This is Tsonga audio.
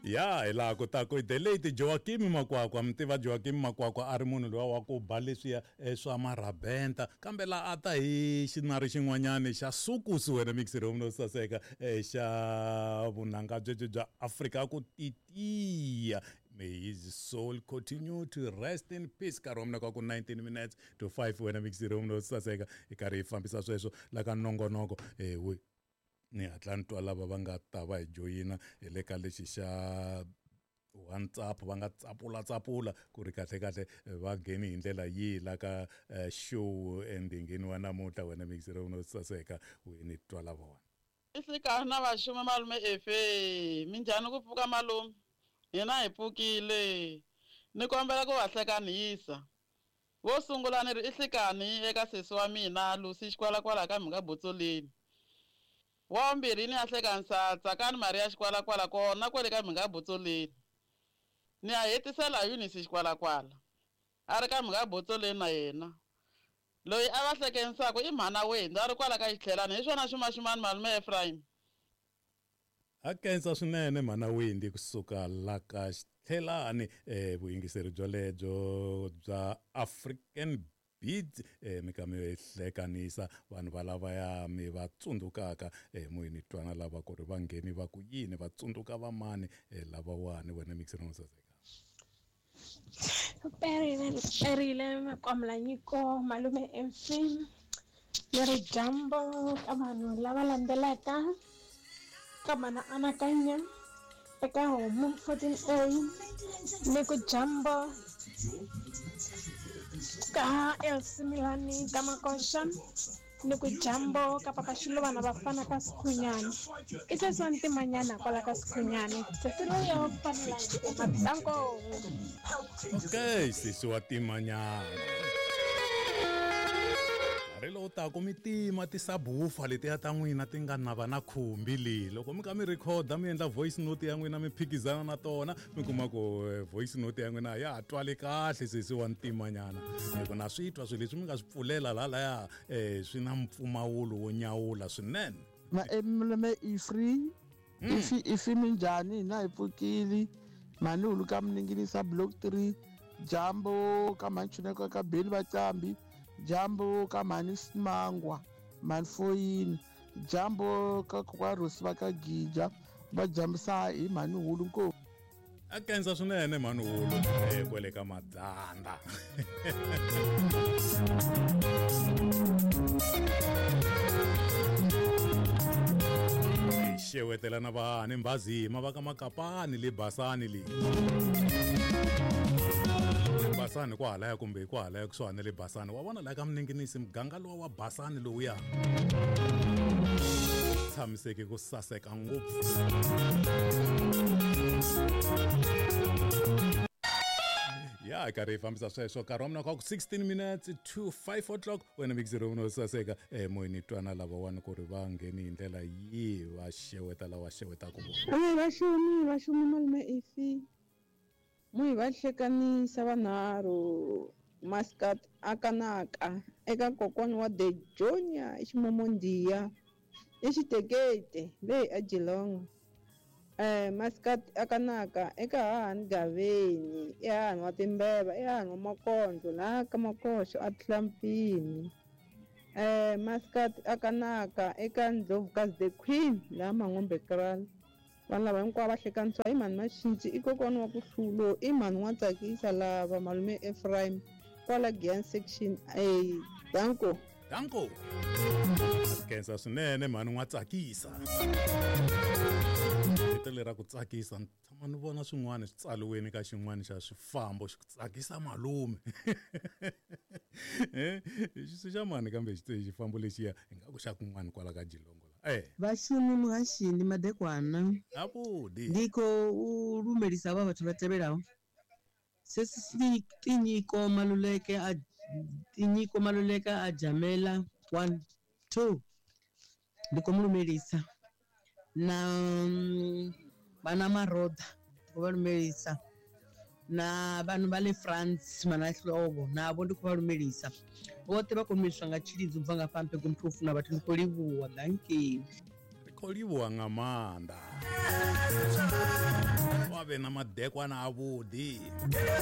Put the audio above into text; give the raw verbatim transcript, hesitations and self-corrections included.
Ya hi laha ku ta ku the late Joaquim Makwakwa, mi tiva Joaquim Makwakwa a ri munhu luwa wa ku ba leswiya swa marabenta, kambe laha a ta hi xinari xin'wanyani xa sukusi wena mixer no saseka xa vunanga byebyo bya Afrika ku titiya. May his soul continue to rest in peace. Nkarhi wa mina ka ku nineteen minutes to five wena mixer no saseka hi karhi hi fambisa sweswo la ka nongonoko. Eh we ni hatla ni twa lava va nga ta va hi joyina hi le ka lexi xa WhatsApp, va nga tsapula tsapula ku ri kahle kahle va ngheni hi ndlela yihi la ka show endingini wa namuntlha wena mixer no saseka we ni twa lava vona. I hlekani na vaxumi malume efe minjhani ku pfuka malume hina hi pfukile ni kombela ku va hlekanisa vo sungula ni ri i hlekani eka sesi wa mina Lucy Xikwalakwala ka mhaka Botsoleni, wa vumbirhi ni ya hlekanisa Tsakani Maria Xikwalakwala kona kwale ka mhaka Botsoleni, ni ya hetisela Eunice Xikwalakwala a ri ka mhaka Botsoleni na yena loyi a va hlekenisaka i mhana wena a ri kwala ka xitlhelani hi swona xumaxumani malume Ephraim. A kensa swinene mhana Wendy kusuka la ka xitlhelani eh vuyingiseri byolebyo bya African Beats eh mi ka mi hlekanisa vanhu va lava ya mi va tsundzukaka eh moyeni twana lava ku ri va ngheni va ku yini va tsundzuka va mani eh lavawani wena mixer no saseka. Perile perile makwamla nyiko malume M C ni ri dyambu ka vanhu lava landzelaka ka mana anakanya eka homu fourteen A ni ku dyambu ka L C Milani ka Makoxa ni ku dyambu ka Papa Xilovana vafana ka Sikhunyani i sesi wa ntimanyana kwala ka Sikhunyani sesi loyi wa fanela matanko. Okay, sesi wa timanyana nkarhi lowu taka mi tima ti-subwoofer letiya ta n'wina ti nga nava na khumbi leyi loko mi ka mi rhikhoda mi endla voice note ya n'wina mi phikizana na tona mi kuma ku voice note ya n'wina ya ha twali kahle sesi wa ntimanyana hi ku na swi twa swilo leswi mi nga swi pfulela lahalaya um swi na mpfumawulo wo nyawula swinene. Malume Ifri ifi ifi minjhani hina hi pfukile mhani hulu ka Miningilisa block three jambo ka Manchuneko ka Beli Vacambi jambo ka mhani Simangwa mhani Foyini jambo ka kokwa Rosi va ka Gija va jambisa hi mhani hulu nkosi. A kensa swinene mhani hulu eh kwele ka Madzanda. Xewetela na vahani Mbazima va ka Makapani le Basani le Basani kwahalaya kumbe kwahalaya kusuhani na le Basani wa vona la ka Mninginisi muganga lowa wa Basani lowuya tshamiseke ku saseka ngopfu. Ya karhi hi fambisa sweswo nkarhi wa mina ka ku sixteen minutes to five o'clock wena mixer no saseka eh moyeni twana lavawani ku ri va ngheni hi ndlela yihi va xeweta lava xewetaka vona. Ai vaxumi vaxumi malume ifi muhi va hlekanisa vanharhu Maskat akanaka eka kokwana wa The Junior eXimomondiya eXitekete leyi a Geelong eh Maskat akanaka eka hahani Gaveni i hahani wa Timbeva i hahani wa Makondlo laha ka Makoxo a Tlampini eh Maskat akanaka eka Ndlovukazi the Queen laha Mangombe Kraal. Vanhu lava hinkwavo va hlekanisiwa i mhani Maxinci i kokwana wa ku hlulo i mhani wa tsakisa lava malume Ephraim kwala Giyani section A. Danko danko kensa swinene mhani wa tsakisa vito lera ku tsakisa ni tshama ni vona swin'wana swi tsaliweni ka xin'wana xa swifambo xi ku tsakisa malume eh xi xa mani kambe xi xifambo lexiya ingaku xa kun'wana kwala ka Geelong la eh vhashumi muhashi ndi madekwana avhuḓi ndi khou lumelisa havha vhathu vha tevhelaho sesi Tinyiko Maluleke a Tinyiko Maluleke a Jamela one two ndi khou mu lumelisa na vana Maroda ndi khou vha lumelisa na vanhu va le France mana Hlovo navho ndi khou vha lumelisa vhoṱhe vha khou lumeliswa nga tshilidzo bva nga fha mpego muthu u funa vhathu ndi khou livhuwa dankie. Ri khou livhuwa nga maanḓa. na madekwana avhuḓi.